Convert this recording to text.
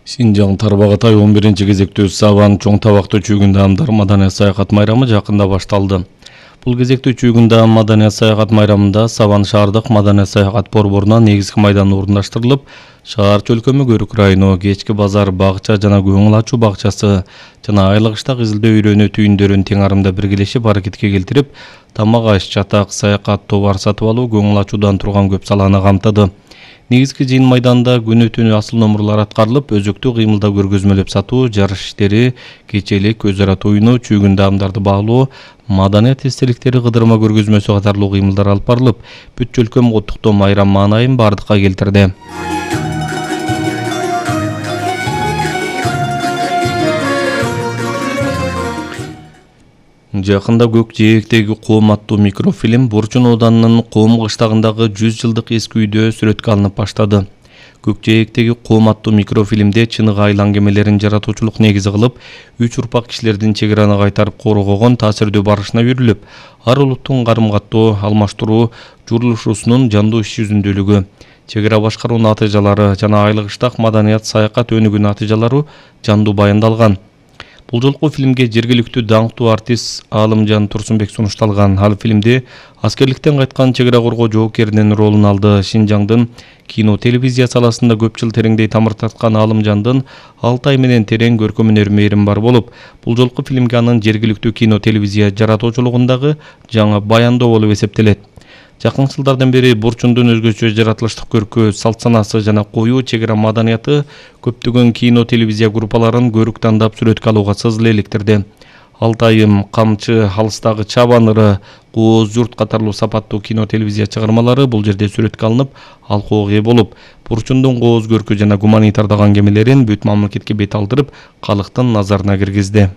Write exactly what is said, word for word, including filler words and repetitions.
Синжаң Тарбағатай он биринчи кезектүү Саван чоң табактуу чүйгүндө амдар маданият саякат майрамы жакында башталды. Бул кезектүү чүйгүндө маданият саякат майрамында Саван шаардык маданият саякат борборунан негизги майдан орундаштырылып, шаар чөлкөмү Көрүк району, кечки базар, багча жана көңүл ачуу багчасы жана айлык-кыштак изилдөө үйрөнүү түйүндөрүн тең арымда биргелешип аракетке келтирип, тамак аш, чатак, саякат, товар сатып алуу, көңүл ачуудан турган көп саланы камтыды. Негизги жыйын майданда күнү-түнү асыл номурлар аткарылып, өзөктүү кыймылдаа көргөзмөлөп сатуу, жарыш иштери, кечелик, өз ара тоюнуу, чүйгүндө амдарды баалоо, маданият эстеликтери кыдырма көргөзмөсү катарлуу кыймылдар алып барылып, бүт чөлкөм куттуктоо майрам маанайын бардыкка келтирди. Жакында Көк жээктеги Коом аттуу микрофильм Борчун ооданынын Коом кыштагындагы жүз жылдык эски үйдө сүрөткө алынып баштады. Көк жээктеги Коом аттуу микрофильмде чыныгы айлы аңгемелерин жаратуучулук негизи кылып, үч урпак кишилердин чек араны кайтарып коргогон таасирдүү барышына үйрүлүп, ар улуттун карым-каттоо, алмаштыруу, журулушуусунун жандуу иш жүзүндүүлүгү, чек ара башкаруунун натыйжалары жана айлык-кыштак маданият саякат өнүгүүнүн натыйжалары жандуу баяндалган. Бул жолку фильмге жергиликтүү даңктуу артист Алымжан Турсунбек сунушталган. Ал фильмде аскерликтен кайткан чек ара коргоо жоокеринин ролун алды. Шинжаңдын кино телевизия саласында көп жыл тереңдей тамыр тарткан Алымжандын Алтай менен терең көркөм өнөр мээрим бар болуп, бул жолку фильмге анын жергиликтүү кино телевизия жаратуучулугундагы жаңы баяндоо болуп эсептелет. Жакын жылдардан бери Борчундун өзгөчө жаратылыштык көркү, салт санасы жана коюу чек ара маданияты көптөгөн кино телевизия группаларын көрүк тандап сүрөткө алууга сызыл электирди. Алтайым, Камчы, Алыстагы Чабан ыры, Кооз журт катарлуу сапаттуу кино телевизия чыгармалары бул жерде сүрөткө алынып, алкууга ээ болуп, Борчундун кооз көркү жана гуманитардык аңгемелерин бүт мамлекетке бет алдырып, калктын назарына киргизди.